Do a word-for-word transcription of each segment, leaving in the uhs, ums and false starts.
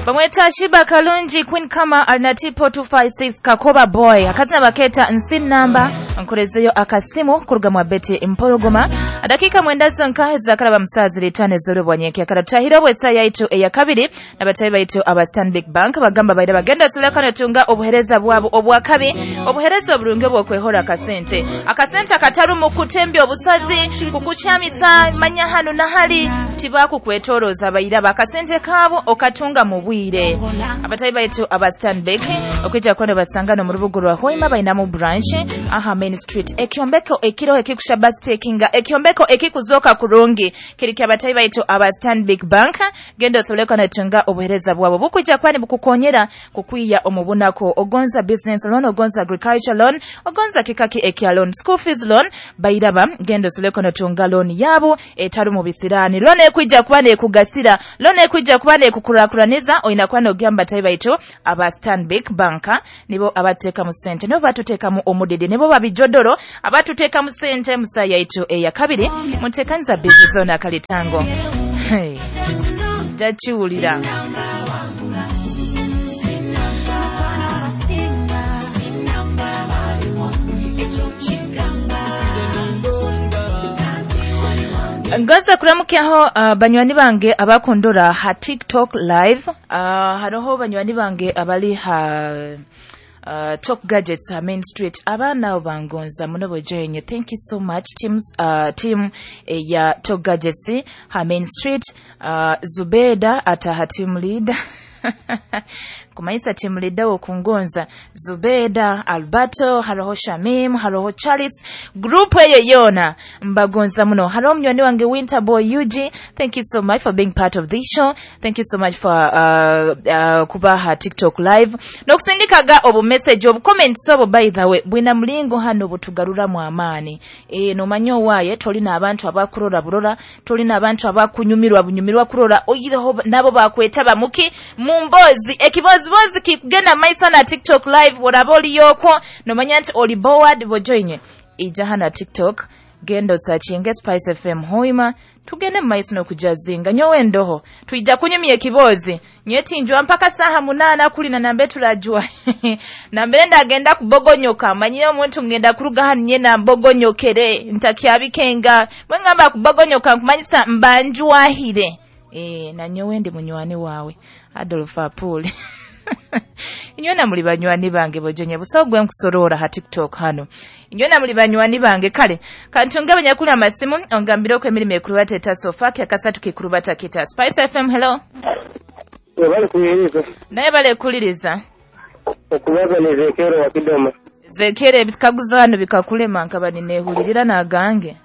Bamweta Shiba Kalungi Queen Kama Alnatipo two five six Kakoba Boy akazina baketa nsi namba nkorezeyo akasimu kuruga mwa Betty Mpologoma dakika mwendazo nkahe zakaraba musazi litane zoro bwanyeke akaratahira bwesa yaitu eya kabiri nabatayi baitu aba Stanbic Bank bagamba baira bagenda sulekana tunga obuhereza bwabo obwakabi obuhereza oburungi obwokwehora akasente akasente akataru mu kutembya obusozi kukuchamisa manya hano na hali tibaku kwetoroza baira bakasente kabo okatunga mu bwire abatayi baitu aba Stanbic okwijja kwenda basangano mu rubugo rwa Hoima bainamu branch aha Main Street ekyombeko ekiro ekikusha bus takinga ekyombeko ekikuzoka kurungi kiri kya abatayi baitu aba Stanbic Bank gendo soleko na tunga obuhereza bwabo bukwijja kwani bukukonyera kukwiya omubunako ogonza business loan ogonza agriculture loan ogonza kikaki ekya loan school fees loan bairaba gendo soleko na tunga loan yabo etaru mu bisirani loan ekwijja kwani ekugasira loan ekwijja kwani ekukurakuraniza oina kwani ogamba tayi baitu aba Stanbic Bank nibo abateka mu sente nibo batuteka mu omudede nibo babijodoro abatuteka mu sente musaya itu eya kabiri mutekanza business zone akalitango hey dachiulira Ngoza kuramukyaho uh, banywani bange abakondora ha TikTok live uh, haroho banywani bange abali ha Uh, Top Gadgets ha Main Street abana bangonza muno bojenye thank you so much teams uh, team eh, ya Top Gadgets ha Main Street uh, Zubeda ataha team leader kumaisa team leader wokungonza Zubeda Alberto haroho Shamim haroho Charles group eyo yona mbagonza muno haroho mnywani wange Winter Boy Yuji thank you so much for being part of this show thank you so much for uh, uh, kubaha TikTok live nokusindikaga obu message obu comments obo by the way bwina mulingo hano butugarura mu amani e nomanyo waye tolina abantu abakurora burora tolina abantu abakunyumirwa bunyumirwa kurora oyireho nabo bakweta bamuki mumbozi ekibozibozi kikugenda maiso na TikTok live woraboli yoko nomanya nti oli board bojoinye ija hana TikTok gendo sachinge Spice F M Hoima tugende maiso no kujazinga nyowe ndoho tuija kunyumya ekibozi nyeti njwa mpaka saha munana kulina nambe turajwa nambe ndagenda kubogonyoka manyire omuntu ngenda kuruga hano nyena mbogonyokere ntakyabikenga mwengamba kubogonyoka nkumanyisa mbanjwahire eh na nyowe ndi munywani wawe Adolf Apule Inyona muli banywani bange bojonye busogwe nkusorora ha TikTok hano Inyona muli banywani bange kale kantunga abanyakuli amasimu ongambire ko emirimo ekurubata eta sofa akasatu kikurubata kita Spice F M hello Bale kuliriza Naye bale kuliriza Okubaza ni Zekero wa Kidoma Zekero ebikaguzo hano bikakulema nkaba ninehulirira nagange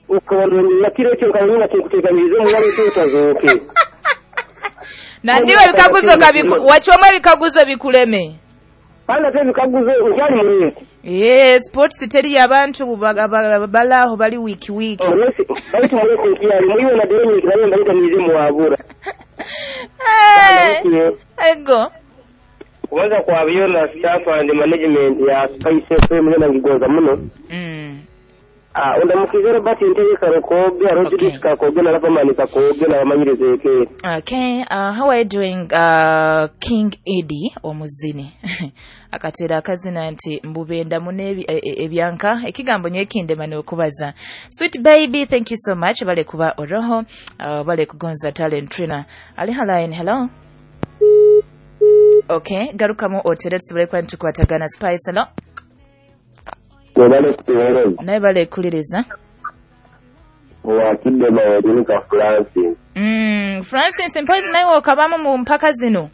Ukabona kiro cyo kabona kikuteganyirize mu wale tutazoke Na ndiwe bikaguzo kabiku wachomwe bikaguzo bikuleme Pana te bikaguzo ukyali mulesi Eh sports teri abantu balaho bali wiki wiki Mulesi bali mulesi kyali muyiwe na dereni kibale mbalita mizimu wabura Eh ego Kubanza kwa byona staff and management ya Spice F M na ngigonza muno Mm Ah undamukize Robert Ntege Karokoge Rodriguez Kakoge na Ravamani Kakoge na bamanyirize ke Okay uh, how are you doing uh, King Eddie omuzini akatera akazina nti mbubenda mune ebyanka ekigambo nyekinde mane okubaza Sweet baby thank you so much bale kuba oroho uh, bale kugonza talent trainer ali line hello Okay garukamu otere tusubire kwa ntukwatagana Spice hello Bale kutereza. Naye bale kuliriza. Wa Kidoma wa Francis. Mm, Francis mpozi naye okabamu mu mpaka zino.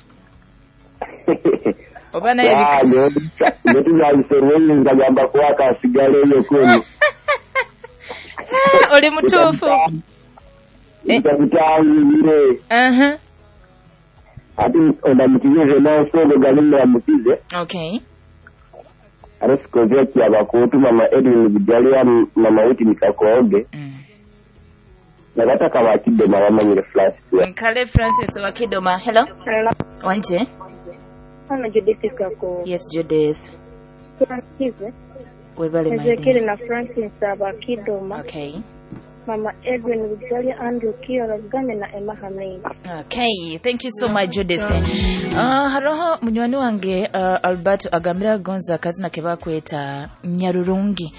Oba naye bika. Ndio ndio ngagamba kwaka asigale eyo kwenu. Oli mutuufu. Ndakutangire. Mhm. Ati ondamutize na galima mutize. Okay. Arasikozia kiabakutu mama Edwin Bujalia mama Witi Mikakoge. Mm. Nagataka wa Kidoma wamanyire Francis. Nkale Francis wa Kidoma. Hello. Hello. Wanje. Hano Judith Kako. Yes Judith. Francis. Webale my Ezekiel na Francis aba Kidoma. Okay. Mama Edwin Bujalya, Andrew Kiora Bugambe na Emma Hamid. Okay, thank you so much Judith. Uh, haroho munywani wange uh, Alberto agambira gonza akazina ke bakweta Nyarurungi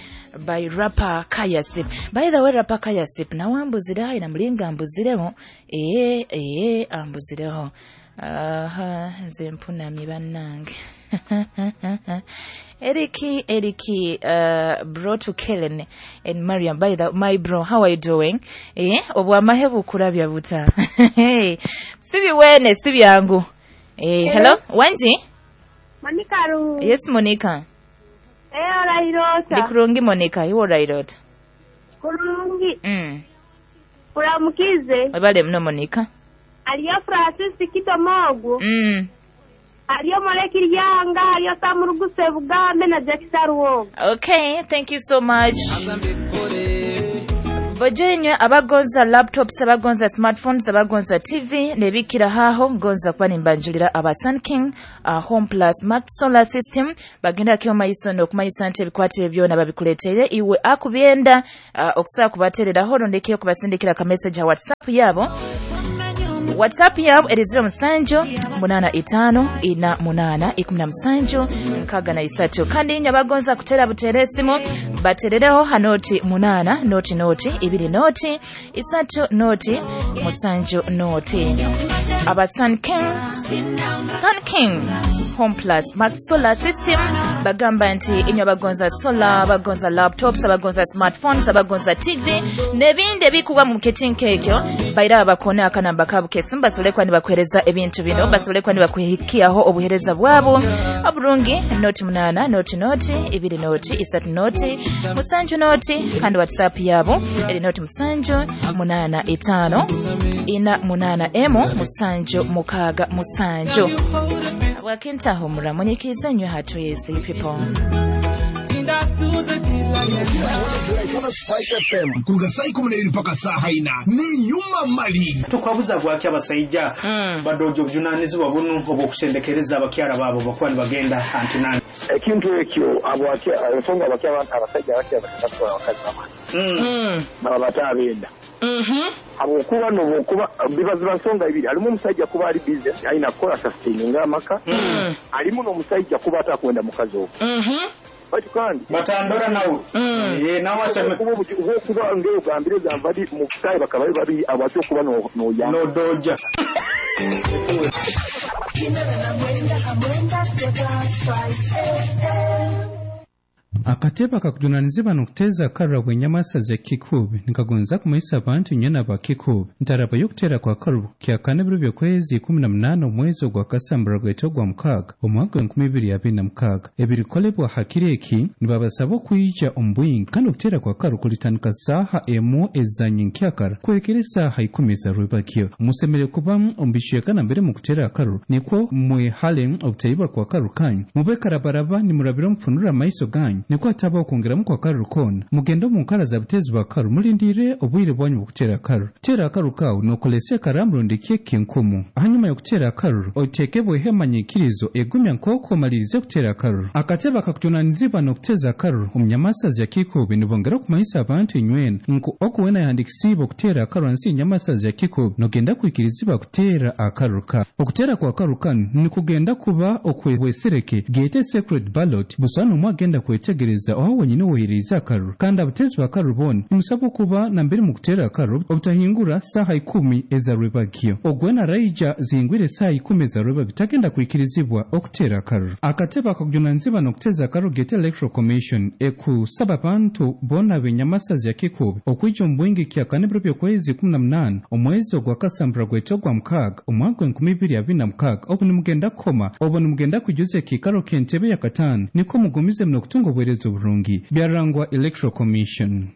by rapper Kayasip. By the way, rapper Kayasip nawe ambuzire hayi namulinga ambuzireho ee ee ambuzireho. Aha, nze mpunamye bannange. Eriki, Eriki, uh, bro to Kellen and Mariam. By the my bro, how are you doing? Eh, obwamahe bukurabya buta. Hey, sibi wene, sibi yangu. Eh, hello, Wanji? Monica Ru. Yes, Monica. Eh, orairota. Ndikurungi Monica, iwe orairota. Kurungi. Mm. Kuramukize. Webale mno Monica. Aliyo Francis Kitomogo. Mm. Aliyo Molekiriyanga, aliyo Samuruguse Bugambe na Jackson Ruwogo. Okay, thank you so much. Bojenywe abagonza laptops, abagonza smartphones, abagonza T V nebikira haho ngonza kuba nimbanjulira aba Sun King uh, Home Plus Max Solar System bagenda kyo mayiso n'okumanyisa nti ebikwate byona babikuletere iwe akubyenda uh, okusobola kubatereraho rondekyo kubasindikira ka message ya WhatsApp yabo. WhatsApp yabo eri zero musanju munana itano ina munana ikumi na musanju nkaga na isatu. Kandi inywe abagonza kutera butere esimu baterereho hanoti munana noti noti ibiri noti isatu noti musanju noti. Aba Sun King, Sun King Home Plus Max Solar System bagamba nti inywe abagonza solar, abagonza laptops, abagonza smartphones, abagonza T V n'ebindi ebikuba mu ketinka ekyo baira abakona akanamba kabo kesimba basobole kuba nibakuhereza ebintu bino, basobole kuba nibakuhikiaho obuhereza bwabo oburungi. Noti munana noti noti ibiri noti isatu noti musanju noti, kandi WhatsApp yabo eri noti musanju munana itano ina munana emu musanju mukaga musanju. Wakintaho muramunyikiza nywe hatu yesi people. Kuruga saa ikumi n'ebiri mpaka saa ina ni nyuma mali tukwabuza gwaki abasajja mm. badojo obuvunanyizibwa buno obw'okusendekereza abakyala baabo bakuba nibagenda antinani ekintu ekyo abwaki ensonga abakyala abasajja abakyala batwala abakazi baba baba batabenda habwokuba nobwokuba bibaziba nsonga ibiri alimu omusajja kuba ali busy alina kukola sustaining amaka alimu n'omusajja kuba atakwenda mukazi ogwo bati kandi batandora nawe eh nawe aseme kuba ngeyo gambire gambadi mu kai bakaba babi abacho kuba no no ya no doja Akateba kakujunanizibwa n'okuteza akarura bw'enyamasa z'ekikubi nikagonza kumanyisa abantu nyena bakikubi ntaraba y'okutera kwa karubu kyakana ebiro by'okwezi ikumi na munaana omwezi ogwa kasambura gwete ogwa mukaaga omwaka gw'enkumi ibiri abiri na mukaaga. Ebirikolebwa hakiri eki nibabasaba okwija omu bwingi kandi okutera kwa karu kulitandika saaha emu ezanyenkyakara kuhikira esaaha ikumi ezarwebakyo. Musemere kuba omu bicweka nambere mu kutera akaru nikwo mwehale obutayibwa kwa karu kanyu mube karabaraba nimurabira omufunura amaiso ganyu nikwo ataba okwongeramu kwa karu koona. Mugende omu nkara za butezi bwa karu mulindire obwire bwanyu bw'okutera akaru. Tera akaru kawu nokolesa ekaramu rundi keki nkumu. Hanyuma y'okutera akaru otekebweho emanyikirizo egumya nk'oku omalirize kutera akaru. Akatebe kakujunanizibwa n'okuteza akaru omu nyamasazi ya Kikubi nibongera okumanyisa abantu inywena nku okuwena yahandikisiibwe okutera akaru hansi y'enyamasazi ya Kikubi nogenda kwikirizibwa kutera akaru ka. Okutera kwa akaru kanu nikugenda kuba okwehwesereke gete secret ballot busa n'omwe agenda kwetegereza aho wenyine wohereza akaru kandi abatezi b'akaru bona nimusabwa okuba nambere mu kutera akaru obutahingura saaha ikumi ezarwebagyo. Ogwena raija zihingwire saaha ikumi ezarwebagyo tagenda kwikirizibwa okutera akaru. Akatebe akakujunanizibwa n'okuteza akaru gete Electoral Commission ekusaba abantu bona b'enyamasazi ya Kikubi okwija omu bwingi kyakana ebiro by'okwezi ikumi na munaana omwezi ogwa kasambura gwete ogwa mukaaga omwaka gw'enkumi ibiri abiri na mukaaga obu nimugenda kukoma obu nimugenda kwijuza ekiikaro ky'entebe ya kataano nikwo mugumize muno okutunga obuheereza oburungi. Byarangwa Electoral Commission.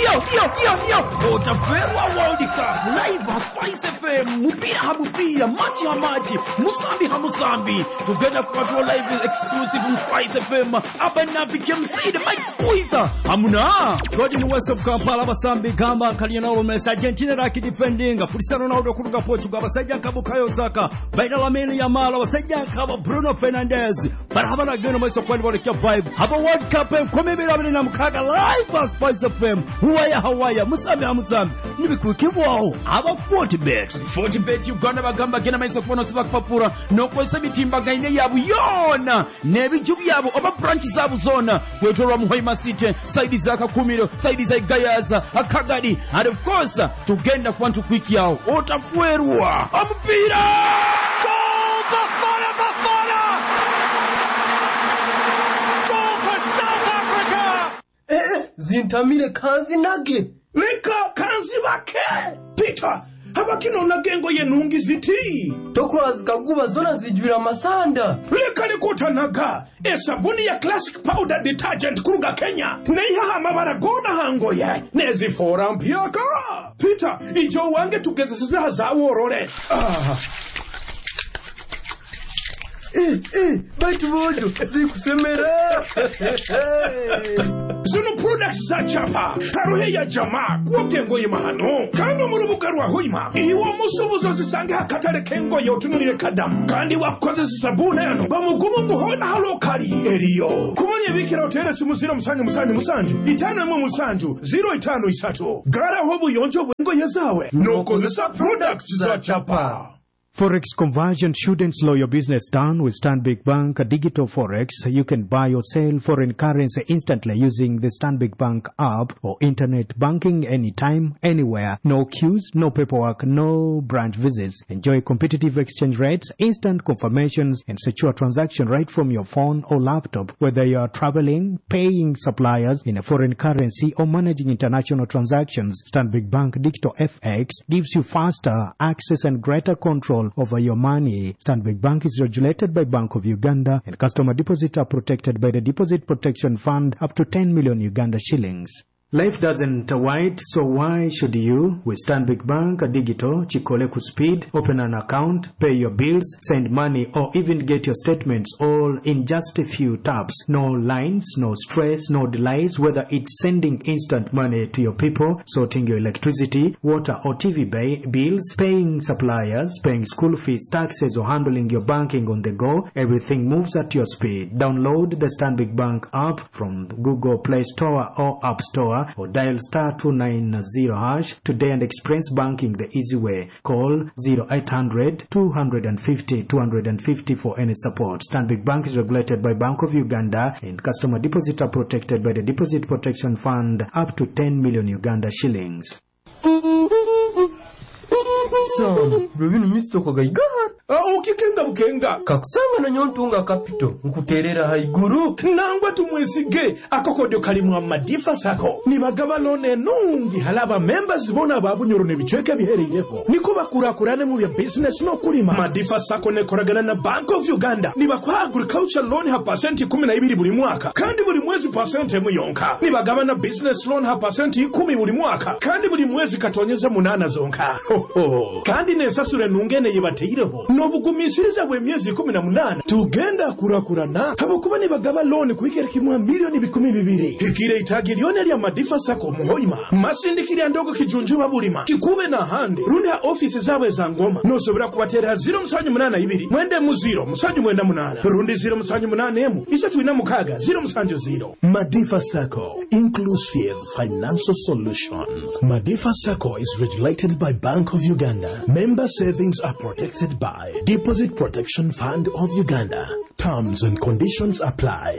Yo, yo, yo, yo. Otaferwa World Cup live ha Spice F M. Mupira ha mupira, machi ha machi, musambi ha musambi. Tugenda kupatwa live exclusive mu Spice F M. Abanabi K M C the Mike Squeezer. Hamuna. Gordon West of Kampala basambi gamba Lionel Messi Argentina raki defending Cristiano Ronaldo kuruga Portugal abasajja nka Bukayo Saka baina Lamine Yamal abasajja nka Bruno Fernandes barabana geno maiso kwani bolekya vibe. Haba World Cup enkumi ibiri abiri na mukaaga live ha Spice F M. Waya hawaya, musambi ha musambi, nibikwikibwaho aba Fortbet. Fortbet Uganda bagamba genda maiso kubona osiba kupapura n'okozesa emitimbagano yaabwe yoona n'ebiju byabwe oba branch zaabwe zoona kwetolwa mu Hoima City, saidi za Kakumiro, saidi za Igayaza, Akagadi, and of course tugenda kuba ntukwikyawo otafuerwa omupiira. Goal! Bafana Bafana! Goal for South Africa! Eh, zintamire kanzinage. Leka kanzibake. Peter, habakino engoye nungi ziti. Tokura zikaguba zona zijwira amasanda. Leka likutanaga esabuni ya Classic Powder Detergent kuruga Kenya neihaha amabara gona hangoye nezifora mpyaka. Peter, ijo wange tugezesiza zaworore. Ah. Eh, eh, baitu bojo zikusemera. Zino products za chapa haruhe ya jamaa kuoke engoye mahano kandi mu rubuga rwa Hoima iwo musubuzo zisange hakatale k'engoye otunulire kadamu kandi wakozesa sabuni yano bamugumu nguhona halokali eriyo kumanya ebikira otere simu ziro musanju musanju musanju itano emwe musanju ziro itano isatu garaho obuyonjo bw'engoye zawe nokozesa products za chapa. Forex conversion shouldn't slow your business down. With Stanbic Bank Digital Forex, you can buy or sell foreign currency instantly using the Stanbic Bank app or internet banking anytime, anywhere. No queues, no paperwork, no branch visits. Enjoy competitive exchange rates, instant confirmations, and secure transaction right from your phone or laptop. Whether you are traveling, paying suppliers in a foreign currency, or managing international transactions, Stanbic Bank Digital F X gives you faster access and greater control over your money. Stanbic Bank is regulated by Bank of Uganda, and customer deposits are protected by the Deposit Protection Fund up to ten million Uganda shillings. Life doesn't wait, so why should you? With Stanbic Bank Digital, Chikole Speed, open an account, pay your bills, send money, or even get your statements all in just a few taps. No lines, no stress, no delays, whether it's sending instant money to your people, sorting your electricity, water or T V bills, paying suppliers, paying school fees, taxes, or handling your banking on the go, everything moves at your speed. Download the Stanbic Bank app from Google Play Store or App Store, or dial star two nine zero hash today and experience banking the easy way. Call zero eight hundred two hundred fifty two hundred fifty for any support. Stanbic Bank is regulated by Bank of Uganda, and customer deposits are protected by the Deposit Protection Fund up to ten million Uganda shillings. Sam, rubinu misto kagaigahara. Ukikenga bukenga. Kakusanga na nyontunga kapito, nkuterera haiguru. Nangwa tumwesige, akokodyo kalimu amadifa sako. Nibagaba lone nungi halaba members bona babunyoro nebichweke bihereireho. Niko bakurakurane mu bya business no kulima. Madifa sako nekoragana na Bank of Uganda. Nibakwa agriculture loan ha percent kumi na ibiri buri mwaka. Kandi buri mwezi percent emu yonka. Nibagaba na business loan ha percent ikumi buri mwaka. Kandi buri mwezi katonyeza munana zonka. Ho ho. Kandi nesasure nungene yibateireho. Nobugumisiriza bwe myezi kumi na munana tugenda kurakurana habokuba nibagaba loan kuigera kimwa milioni bikumi bibiri hikire itagilione lya Madifa Sako muhoima masindikiri ndogo kijunjuba bulima kikube na hande rundi ha office zawe za ngoma nosobora kubatera zero musanju munana ibiri mwende mu zero musanju mwenda munana rundi zero musanju munana emu isatu ina mukaga zero musanju zero. Madifa Sako, inclusive financial solutions. Madifa Sako is regulated by Bank of Uganda. Member savings are protected by Deposit Protection Fund of Uganda. Terms and conditions apply.